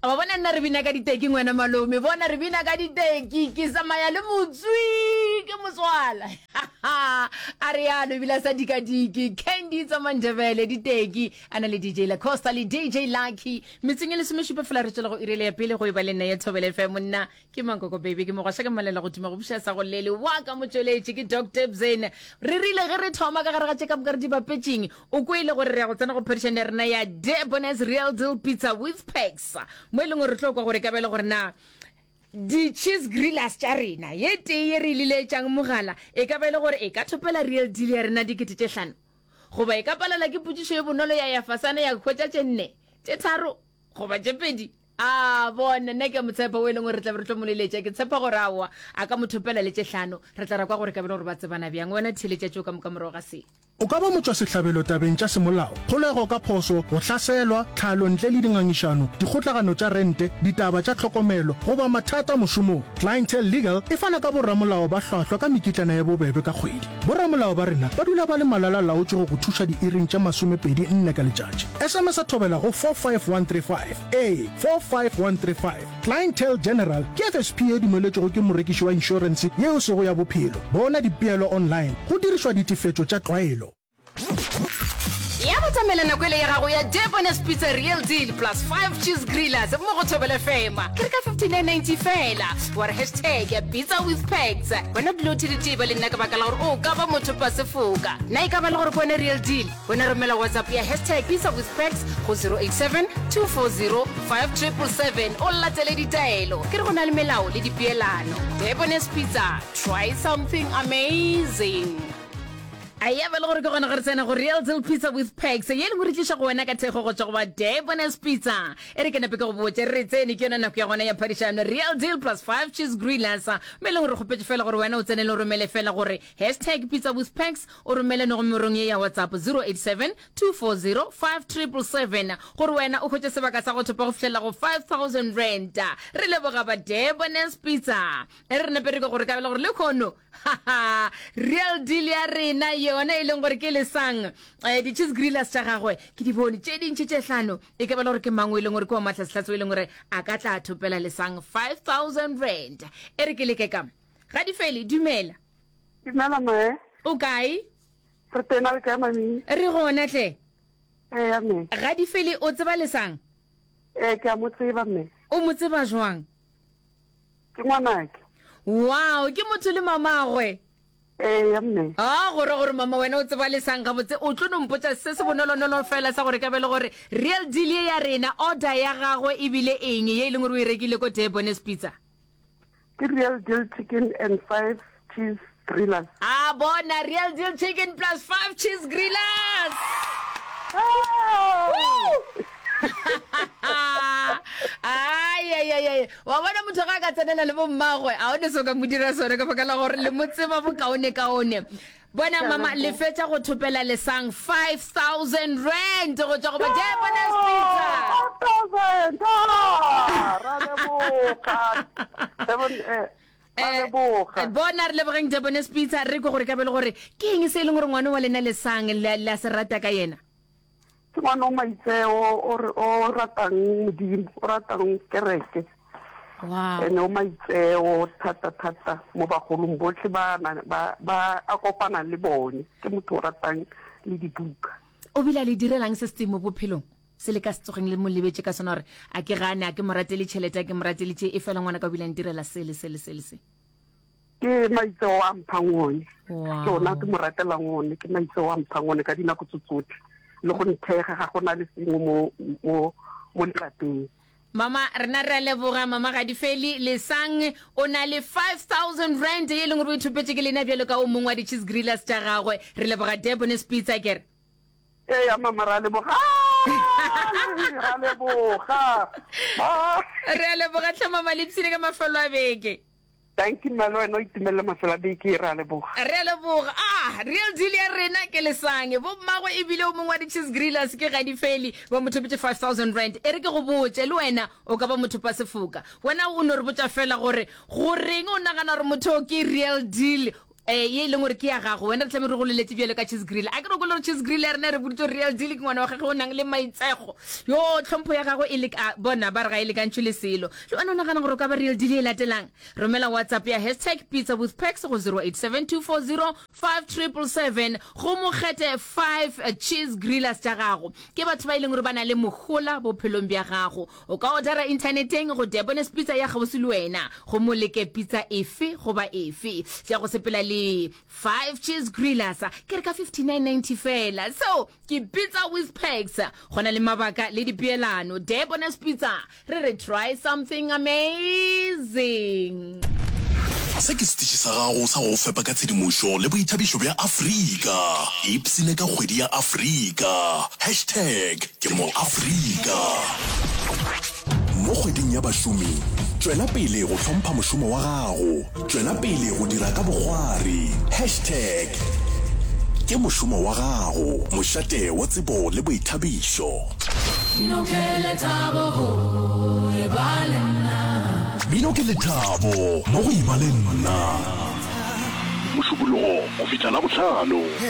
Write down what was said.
Wa bona nna re bina ka diteki ngwana malome, bona re bina ka diteki, ke tsamaya le motswi ke motswala. A re yalo ebile a sa dikadike. Candy tsa Mandebele diteki a na le DJ La Costa le DJ Lucky. Metseng e lesomešupa fela re tšwela go iri ya pele go e ba le nna ya Thobela FM monna ke Mankoko baby ke mogwaša ke mmalela go tuma go buša sa go lele wa ka motšweletši ke Doctor Bzene. Re rile ge re thoma ka gare ga tše ka moka re di bapetšeng O kwele gore re ya go tsena go phadišano ya rena ya Debonair's Real Deal Pizza with Packs, mo e leng gore re tlo kwa gore e ka ba e le gore na di-cheese grillers tša rena ye tee ye re e liletšang mogala e ka ba e le gore e ka thopela Real Deal ya rena 5000 goba e ka palelwa ke potšišo ye bonolo ya ya fasana ya hwetša tše nne, tše tharo goba tše pedi. A bona, nna ke a mo tshepa o e leng gore re tla be re tlo mo leletša. Ke tshepa gore aowa, a ka mo thopela le tše hlano. Re tla ra kwa gore e ka ba e le gore ba tsebana bjang. Wena theeletša tšeo ka moka morago ga se. O ka ba motšwasehlabelo tabeng tša semolao, kgolego ka phoso, go hlaselwa, tlhalo ntle le dingangišano, dikgotlagano tša rente, ditaba tša tlhokomelo, goba mathata mošomong. Clientele Legal e fana ka boramolao ba hlwahlwa ka mekitlana ya bobebe ka kgwedi. Boramolao ba rena ba dula ba le malala-laotšwe go go thuša diiring tše masomepedi nne ka letšatši. SMS-a thobela go 45135. Ee, 45135. Clientele General ke FSP ye dumeletšwego ke morekiši wa inšorense ye e sego ya bophelo. Bona dipeelo online go dirišwa ditefetšo tša tlwaelo. Ya batamela nako ele ya gago ya Debonair's Pizza Real Deal plus 5 Cheese Grillers mo go Thobela FM. Ke re ka 59.90 fela. Wa re hashtag pizza with packs. Wena dula o theletše ba le nna ka baka la gore o ka ba motho pa sefoka. Na e ka ba le gore ke wena Real Deal? Wena romela WhatsApp ya hashtag Pizza with Packs go 087 240 5777 o latele ditaelo. Ke re go na le melao le dipeelano. Debonair's Pizza, try something amazing. A ya ba le gore ke gona ge re tsena go Real Deal Pizza with Packs ye e leng gore tliša go wena ka thekgo go tšwa go ba Debonair's Pizza. E re ke nape ke go botše re tsene ke yona nako ya gona ya phadišano Real Deal plus 5 Cheese Grillers mo e leng gore re kgopetše fela gore wena o tsene le o romele fela gore hashtag Pizza with Packs O romele nomorong ye ya WhatsApp 087 240 5777 gore wena o hwetše sebaka sa go thopa go fihlelela go R5000. Re leboga ba Debonair's Pizza. E re re nape re kwe gore ka bela gore lehono haha real deal ya rena yona e leng gore ke lesang eh, di-cheese grillers tša gagwe ke di bone tše dintši tše hlano e ka bela gore ke mang o e leng gore ke wa mahlasehlase o e leng gore a ka tla thopela lesang R5000. E re ke leke ka ga di fele dumela. Dumela mme. O kae? Re tena le kae mami? Re gona tle. Eya mme. Gadifele o tseba Lesang? Ee ke a mo tseba mme. O mo tseba jwang? Ke ngwanake. Wow, ke motho le mamagwe. Eya mme. Ah, go ra gore mama wena o tseba Lesang gabotse. O tlo no mpotša se se bonolonolo fela sa gore ka be le gore real deal ye ya rena order ya gagwe e bile eng ye e leng gore o e rekile ko Debonair's Pizza? Ke Real Deal Chicken and 5 Cheese Grillers. A bona Real Deal Chicken plus 5 Cheese Grillers. Ai wa bona motho ga a ka tsenela le bommagwe a o ne se o ka mo dira sone ka baka la gore le mo tseba bokaone kaone Bona mama le fetša go thopela lesang 5000 rand go tšwa go ba Debonair's Pizza. 5000 ah, ra leboga. Devon eh ra eh, leboga. Eh, bona re lebogeng Debonair's Pizza re kwe gore ka be le gore ke eng se e leng gore ngwana wa lena lesang la se rata ka yena. Ke ngwana o maitseo o re o ratang Modimo, o ratang kereke. Wow. Ene o maitseo thata thata mo bagolong botlhe ba ba ba a kopanang le bone. Ke motho o ratang le dibuka. O bile a le direlang se se mo bophelong? Se le ka se tsogeng le mo lebetše ka sona gore a ke gane a ke mo ratele tšhelete a ke mo ratele tše e fela ngwana ka o bile a ntirela se le se le se le se. Ke maitseo a mphang one. Wow. Ke ona ke mo ratelang one, ke maitseo a mphang one ka dinako tso tsotlhe. Le go nthega ga go na le sengwe mo mo mo lelapeng. Mama, rena re a leboga Mama Gadifeli. Lesang o na le 5000 rand ye e leng gore o ithopetše ke lena bjalo ka o mongwe wa di-cheese grillers tša gagwe. Re leboga Debonair's Pizza ke re. Eya mama ra leboga. Ra leboga. Re a leboga tlhe mama le ipshine ka mafelo a beke. Dankie mma le wena o itumelele mafelo a beke re a leboga. Re a leboga. Ah, real deal ya rena ke Lesange. Bo mmagwe ebile o mongwe wa di-cheese grillers ke Gadifeli ba mo thopetše 5000 rand. E re ke go botše, le wena o ka ba mothopa sefoka. Wena o no re botša fela gore goreng o nagana gore motho o ke real deal. Eh, ye e leng gore ke ya gago wena re tlame re go leletse bjalo ka cheese grill a ke re kwele gore cheese grill ya rena re boditse real deal ke ngwana wa gage o nang le maitsego yo tlhompho ya gagwe e le bona ba re ga e lekantšhwe le selo le wena o nagana gore o ka ba real deal e latelang romela whatsapp ya hashtag pizza with packs go 0872405777 go mokgethe 5 cheese grillers tša gago ke batho ba e leng gore ba na le mohola bophelong bja gago O ka odara inthaneteng go Debonair's Pizza ya kgauswi le wena gomme o leke pizza efe goba efe tša go sepela le 5 cheese grillers ke re ka 59.90 fela. Seo ke Pizza with Perks. Go na le mabaka le dipeelano. Debonair's Pizza, re re try something amazing. Se ke setiši sa gago sa go go fepa ka tshedimošo le boithabišo bja Afrika. Ipshine ka kgwedi ya Afrika. Hashtag ke mo Afrika. Mo kgweding ya bašomi, tšwela pele go hlompha mošomo wa gago. Tšwela pele go dira ka bokgwari. Hashtag ke mošomo wa gago. Mošate wa tsebo le boithabišo. Mmino ke lethabo go eba le nna. Mmino ke lethabo mo go eba le nna. Mošupologo go fihla Labohlano.